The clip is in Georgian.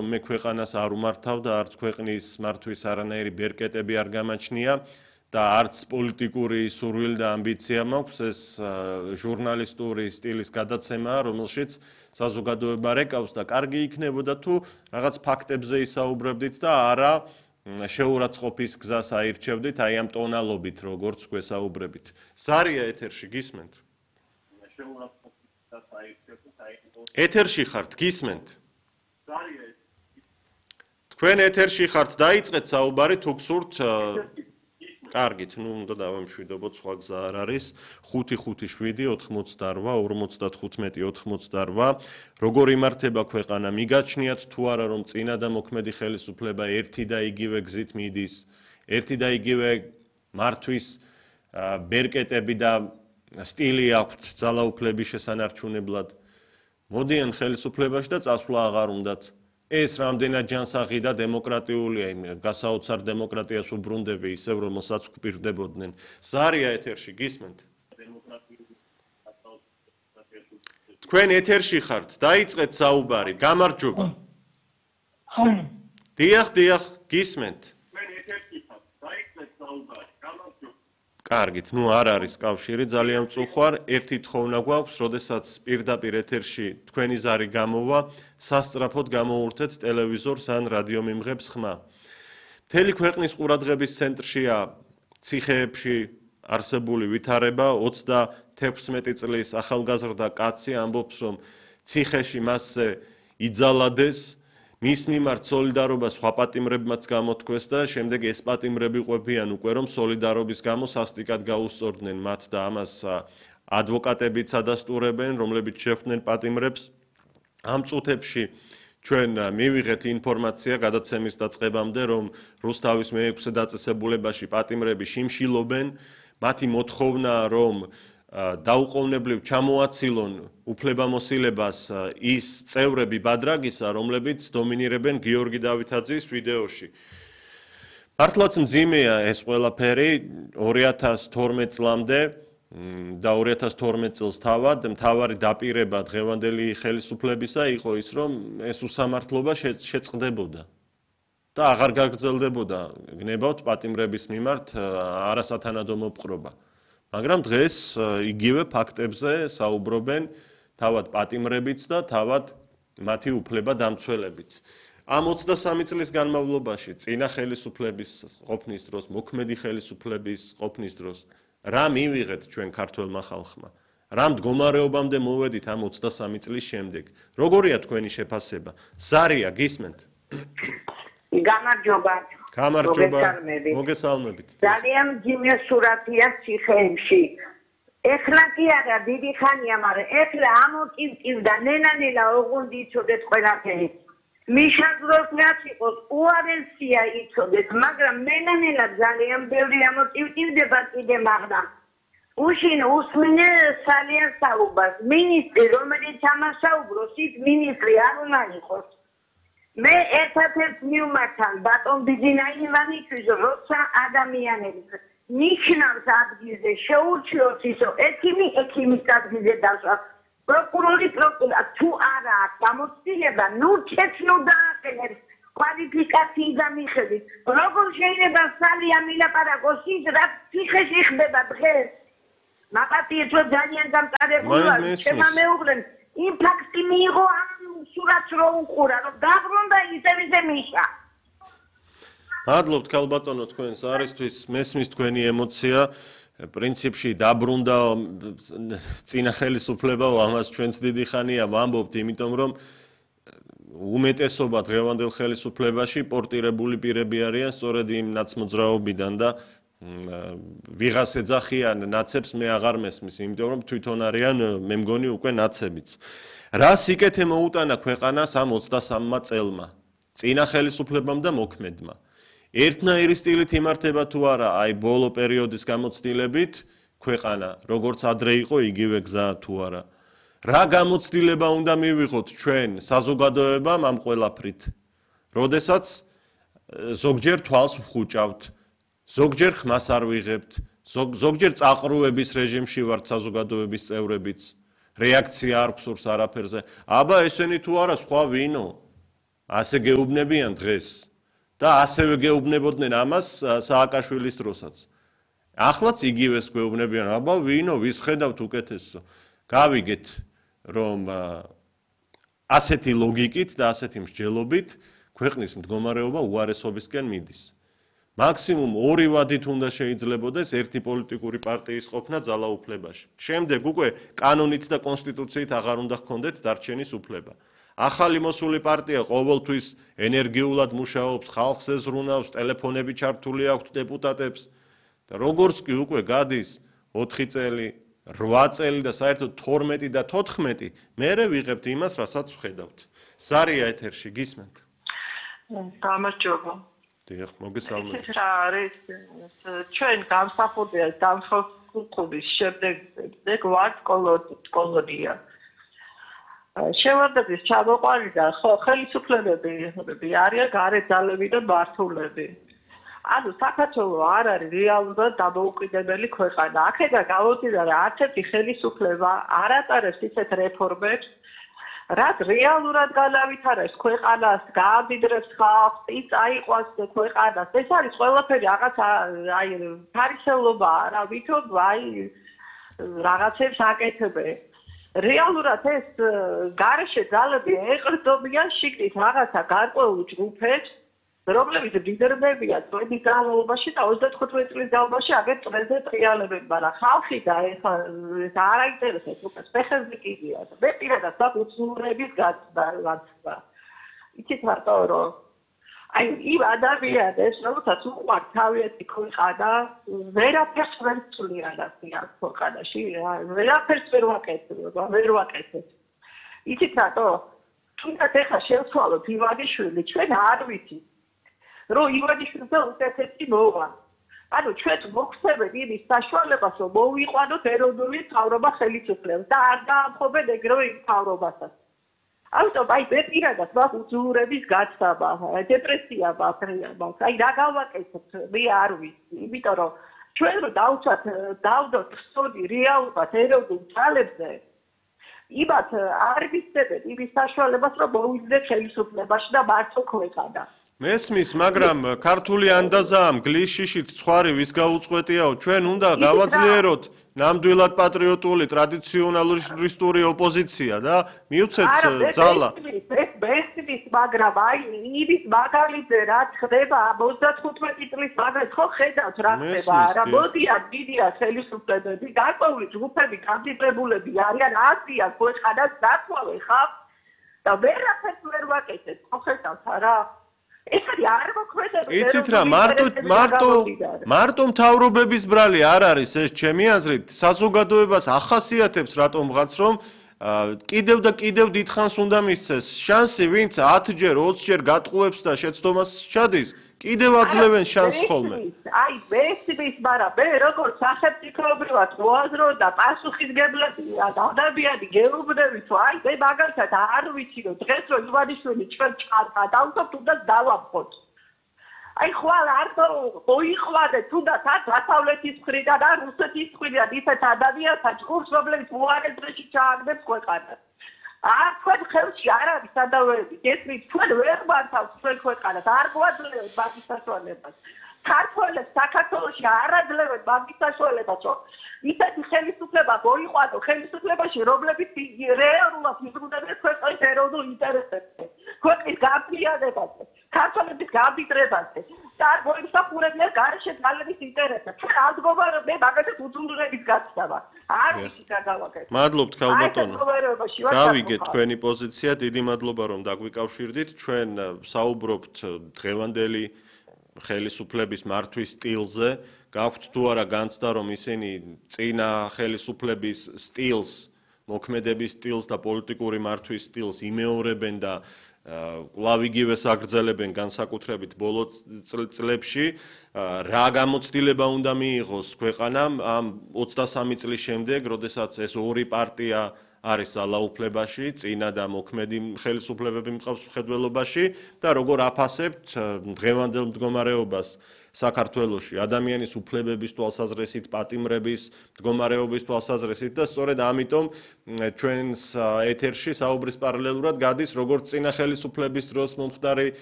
მე ქვეყანას არ უმართავ და არც ქვეყნის მართვის არანაირი ბერკეტები არ გამაჩნია და არც პოლიტიკური სურვილი და ამბიცია მაქვს ეს ჟურნალისტური სტილის გადაცემაა, რომელშიც საზოგადოება რეკავს და კარგი იქნებოდა თუ რაღაც ფაქტებზე ისაუბრებდით და არა შეურაცხყოფის გზას აირჩევდით, აი ამ ტონალობით, როგორც გვესაუბრებით. ზარია ეთერში გისმენთ? ეთერში ხართ, გისმენთ? თქვენ ეთერში ხართ, დაიწყეთ საუბარი თუ გსურთ კარგით, უნდა დავამშვიდობოთ, სხვა გზა არ არის. 557-88-55-98. როგორ იმართება ქვეყანა? მიგაჩნიათ თუ არა, რომ წინა და მოქმედი ხელისუფლება ერთი და იგივე გზით მიდის, ერთი და იგივე მართვის ბერკეტები და სტილი აქვთ ძალაუფლების შესანარჩუნებლად. მოდიან ხელისუფლებაში და წასვლა აღარ უნდათ. ეს რამდენად ჯანსაღი და დემოკრატიულია, გასაოცარ დემოკრატიას უბრუნდები, ისევ რომელსაც გვპირდებოდნენ. ზარია ეთერში, გისმენთ? თქვენ ეთერში ხართ, დაიწყეთ საუბარი, გამარჯობა. დიახ, გისმენთ? კარგით, არ არის კავშირი, ძალიან მწუხვარ. ერთი თხოვნა გვაქვს, როდესაც პირდაპირ ეთერში თქვენი ზარი გამოვა, სასწრაფოდ გამოურთეთ ტელევიზორს ან რადიომიმღებს ხმა. მთელი ქვეყნის ყურადღების ცენტრშია ციხეებში არსებული ვითარება, 36 წლის ახალგაზრდა კაცი ამბობს, რომ ციხეში მასზე იძალადეს, მის მიმართ სოლიდარობა სხვა პატიმრებმაც გამოთქვეს და შემდეგ ეს პატიმრები ყვებიან უკვე, რომ სოლიდარობის გამო სასტიკად გაუსწორდნენ მათ და ამას ადვოკატებიც ადასტურებენ, რომლებიც შეხვდნენ პატიმრებს. ამ წუთებში ჩვენ მივიღეთ ინფორმაცია გადაცემის დაწყებამდე, რომ რუსთავის მე-6 დაწესებულებაში პატიმრები შიმშილობენ, მათი მოთხოვნაა, რომ დაუყოვნებლივ ჩამოაცილონ უფლებამოსილებას ის წევრები ბადრაგისა, რომლებიც დომინირებენ გიორგი დავითაძის ვიდეოში. მართლაც მძიმეა ეს ყველაფერი 2012 წლამდე და 2012 წელს მთავარი დაპირება დღევანდელი ხელისუფლებისა იყო ის, რომ ეს უსამართლობა შეწყდებოდა და აღარ გაგრძელდებოდა გნებავთ პატიმრების მიმართ არასათანადო მოპყრობა. მაგრამ დღეს იგივე ფაქტებზე საუბრობენ თავად პატიმრებიც და თავად მათი უფლება დამცველებიც. ამ 23 წლის განმავლობაში წინა ხელისუფლების ყოფნის დროს, მოქმედი ხელისუფლების ყოფნის დროს რა მივიღეთ ჩვენ ქართველმა ხალხმა? რა მდგომარეობამდე მოვედით ამ 23 წლის შემდეგ? როგორია თქვენი შეფასება? ზარია, გისმენთ? გამარჯობა. მოგესალმებით. ძალიან მძიმე სურათია ციხეებში. ეხლა კი არა, დიდი ხანია, მაგრამ ეხლა ამოტივტივდა, ნელა ოღონდ იცოდეთ ყველაფერი. მიშადროს რაც იყოს, უარესია იცოდეთ, მაგრამ ნელა ძალიან ბევრი ამოტივტივდება კიდე მაგრამ. უშინ უსმინე სალიან საუბარს. მინისტრი, რომელიც ამას საუბრობს, ის მინისტრი არ უნდა იყოს. მე ერთადერთ მივმართავ ბატონ ბიძინა ივანისთვის, როცა ადამიანებს ნიშნავს ადგილზე შეურჩიოს ისო ექიმის ადგილზე დასვა, პროკურორი თუ არა აქვს გამოცდილება, ჩეცნო დააყენებს კვალიფიკაციიდან მიხედვით. როგორ შეიძლება სალია მილაპარაკოს ის, რაც ციხეში ხდება დღეს? მაპატიეთო ძალიან გამწარებულია, შემა მეუღლენ იმ ფაქტი მიიღო სურათს რო უყურა, რომ დაბრუნდა ისე მიშა. მადლობთ ქალბატონო თქვენს არისთვის, მესმის თქვენი ემოცია. პრინციპში დაბრუნდა წინა ხელისუფლებაო, ამას ჩვენც დიდი ხანია ვამბობთ, იმიტომ რომ უმეტესობა დღევანდელ ხელისუფლებაში პორტირებული პირები არიან სწორედ იმ ნაცმოძრაობიდან და ვიღას ეძახიან ნაცებს მე აღარ მესმის, იმიტომ რომ თვითონ არიან მე მგონი უკვე ნაცებიც. რა სიკეთე მოუტანა ქვეყანას ამ 23 წელმა, წინა ხელისუფლებამ და მოქმედმა. ერთნაირი სტილით იმართება თუ არა, აი ბოლო პერიოდის გამოცდილებით ქვეყანა, როგორც ადრე იყო, იგივე გზაა თუ არა. რა გამოცდილება უნდა მივიღოთ ჩვენ საზოგადოებამ ამ ყველაფრით, როდესაც ზოგჯერ თვალს ვხუჭავთ, ზოგჯერ ხმას არ ვიღებთ, ზოგჯერ წაყრუების რეჟიმში ვართ საზოგადოების წევრებიც. რეაქცია არ გვსურს არაფერზე. აბა ესენი თუ არა სხვა ვინო? ასე გეუბნებიან დღეს და ასევე გეუბნებოდნენ ამას სააკაშვილის დროსაც. Ახლაც იგივეს გვეუბნებიან, აბა ვინო ვის ხედავთ უკეთესო. გავიგეთ რომ ასეთი ლოგიკით და ასეთი მსჯელობით ქვეყნის მდგომარეობა უარესობისკენ მიდის. მაქსიმუმ 2 ვადით უნდა შეიძლებოდეს ერთი პოლიტიკური პარტიის ყოფნა ძალაუფლებაში. შემდეგ უკვე კანონით და კონსტიტუციით აღარ უნდა ჰქონდეთ დარჩენის უფლება. ახალი მოსული პარტია ყოველთვის ენერგიულად მუშაობს, ხალხს ეზრუნავს, ტელეფონები ჩართული აქვთ დეპუტატებს და როგორც კი უკვე გადის 4 წელი, 8 წელი და საერთოდ 12 და 14, მერე ვიღებთ იმას, რასაც ვხედავთ. ზარია ეთერში, გისმენთ? გამარჯობა. დიახ, მოგესალმებით. ეს რა არის? ჩვენ გამსახურდია დამხობის შემდეგ ვართ კოლონია. შევარდების ჩამოყვანი და ხელისუფლებები არიან გარეთ ძალები და მმართველები. ანუ საქართველო არ არის რეალურად დამოუკიდებელი ქვეყანა. აქედან გამომდინარე რა არც ერთი ხელისუფლება არ ატარებს ისეთ რეფორმებს, რაც რეალურად განავითარებს ქვეყანას, გაამდიდრებს ხალხს, წაიყვანს ქვეყანას. ეს არის ყველაფერი რაღაც აი ფარისევლობა, რა ვითომ აი რაღაცებს აკეთებენ. რეალურად ეს გარეშე ძალები ეყრდნობიან შიგნით რაღაცა გარკვეულ ჯგუფებს, რომლებიც ლიდერებია წლების განმავლობაში და 35 წლის განმავლობაში აგერ წრეზე ტრიალებენ, მაგრამ ხალხი და ეხლა ეს არ აინტერესებს უკვე ფეხებზე კიდია. მე პირადად საფუძვლების გაცდა. იცით მარტო რომ აი იმ ადამიანებს რომელსაც უყვართ თავიანთი ქვეყანა, ვერაფერს ვერ ცვლიან აქ ქვეყანაში, ვერაფერს ვერ ვაკეთებ. იცით რატო? თუნდაც ეხლა შევცვალოთ ივანიშვილი, ჩვენ არ ვიცით რომ ივანიშვილზე უკეთესი მოვა. ანუ ჩვენ მოგვხსენებთ იმის საშუალებას, რომ მოვიყვანოთ ეროვნული მთავრობა ხელისუფლებას და არ დაამხობენ ეგრევე იმ მთავრობასაც. ამიტომ აი მე პირადად მაქვს უძულურების გაცდა, დეპრესია მაქვს. აი რა გავაკეთოთ, მე არ ვიცი, იმიტომ რომ ჩვენ რო დავდოთ სწორი რეალურად ეროვნულ ძალებზე, იმათ არ ვიცებენ იმის საშუალებას, რომ მოვიძნეთ ხელისუფლებაში და მართო ქვეყანა. მესმის, მაგრამ ქართული ანდაზა მგლის შიშით ცხარი ვის გაუწყვეტიაო, ჩვენ უნდა გავაძლიეროთ ნამდვილად პატრიოტული ტრადიციონალისტური ოპოზიცია და მივცეთ ძალა. ეს მაგრამ აი იმის მაგალითზე რაც ხდება 35 წლის მაგალითად ხო ხედავთ რა ხდება რა მოდიან დიდია ხელისუფლებები გარკვეული ჯგუფები გამდიდრებულები არიან აზრიან ქვეყანას დათვალე ხალხ და ვერაფერს ვერ ვაკეთებ ხო ხედავთ რა ეს არის არ მოქმედებს იცით რა მარტო მთავრობების ბრალი არ არის ეს ჩემი აზრით საზოგადოებას ახასიათებს რატომღაც რომ კიდევ და კიდევ დიდხანს უნდა მისცეს შანსი ვინც 10-ჯერ 20-ჯერ გატყუებს და შეცდომას ჩადის კიდევ აძლევენ შანსს ხოლმე აი მესმის მაგრამ მე როგორც სახელმწიფოებრივად მოაზრო და პასუხისგებლობია დავდაბიანი გეუბნები თუ აი მე მაგალითად არ ვიცი რომ დღეს რომ ივანიშვილი ჩვენ ჩარდა და უბრალოდ უნდა დავამხოთ აი ხვალ არ მოიყვანეთ თუნდაც არ დასავლეთის მხრიდან და რუსეთის მხრიდან ისეთ ადამიანთა ჯგუფს რომლებიც უარესრეში ჩააგდებს ქვეყანას თქვენ ხელში არ არის სადავეები გესმით თქვენ ვერ მართავთ თქვენ ქვეყანას არ გვაძლევთ მაგის საშუალებას ქართველებს საქართველოში არ აძლევთ მაგის საშუალებას რომ ისეთი ხელისუფლება მოიყვანო ხელისუფლებაში რომლებიც რეალურად იზრუნებენ ქვეყნის ეროვნულ ინტერესებზე ქვეყნის გამძლეობაზე ქართველების გამდიდრებაზე და არ მოიმსახურებიან გარეშე ძალების ინტერესებს ჩვენ არ მდგომარეობ მე მაგალითად უძულურების გაცდა არ ვიცი რა გავაკეთე მადლობთ ქალბატონო გავიგეთ თქვენი პოზიცია დიდი მადლობა რომ დაგვიკავშირდით ჩვენ საუბრობთ დღევანდელი ხელისუფლების მართვის სტილზე გაქვთ თუ არა განცდა რომ ისინი წინა ხელისუფლების სტილს მოქმედების სტილს და პოლიტიკური მართვის სტილს იმეორებენ და კვლავ იგივეს აგრძელებენ განსაკუთრებით ბოლო წლებში რა გამოცდილება უნდა მიიღოს ქვეყანამ ამ 23 წლის შემდეგ როდესაც ეს ორი პარტია არის ძალაუფლებაში, წინა და მოქმედი ხელისუფლებები მყავს მხედველობაში და როგორ აფასებთ დღევანდელ მდგომარეობას საქართველოში ადამიანის უფლებების თვალსაზრისით, პატიმრების მდგომარეობის თვალსაზრისით და სწორედ ამიტომ ჩვენს ეთერში საუბრის პარალელურად გადის როგორც წინა ხელისუფლების დროს მომხდარი